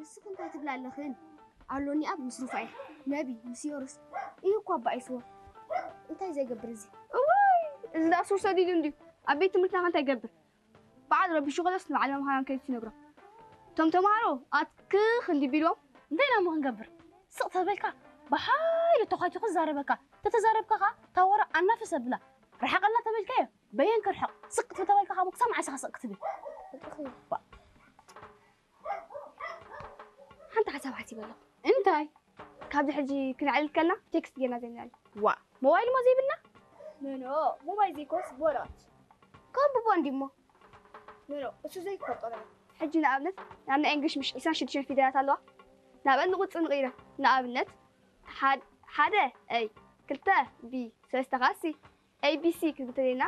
ንስኺ እንታይ ትብላ ኣለኽን? ኣሎኒ ኣብ ምስ ሩፋኤል፣ ነቢ፣ ምስ ዮርስ እዩ እኮ ኣባኢስዎ። እንታይ ዘይገብር እዚ? እዋይ፣ እዚ ደኣ ሱር ሰዲዱ እንድዩ። ኣብ ቤት ትምህርትና ከ እንታይ ይገብር? በዓል ረቢሹ ከሎስ ንበዓል መምሃራን ከይዱ ይነግሮም። እቶም ተምሃሮ ኣትክኽ እንዲ ቢልዎም፣ እንታይ ኢና እሞ ክንገብር? ስቕ ተበልካ፣ ብሓይሉ ተዃቲኹ ዝዛረበካ። ተተዛረብካ ኸዓ፣ እታ ወረ ኣናፍስ ኣብላ። ርሓቐልና ተበልካዮ፣ በየን ክርሕቕ? ስቕ ተተበልካ ኸዓ፣ ክሳብ መዓስ ኢኻ ስቕ ክትብል? ሓንቲ ሓሳብ ሓሲበ ኣለኹ። እንታይ? ካብዚ ሕጂ ክነዕልል ከልና ቴክስት ጌርና ዘይንዕልል። ዋ፣ ሞባይል እሞ ዘይብልና? ኖ፣ ኖ፣ ሞባይል ዘይኮንስ ቦራት። ከንብቦ እንዲ እሞ። ኖ፣ ኖ፣ እሱ ዘይትፈልጦ ነገር። ሕጂ ንኣብነት፣ ናብ ናይ እንግሊሽ ምሽ ዒስራን ሽዱሽተን ፊደላት ኣለዋ። ናብአን ንቁጽሪ ንቕይረን። ንኣብነት፣ ሓድ-፣ ሓደ ኤ፣ ክልተ ቢ፣ ሰለስተ ኸዓ ሲ። ኤ ቢ ሲ ክንብል እንተደሊና፣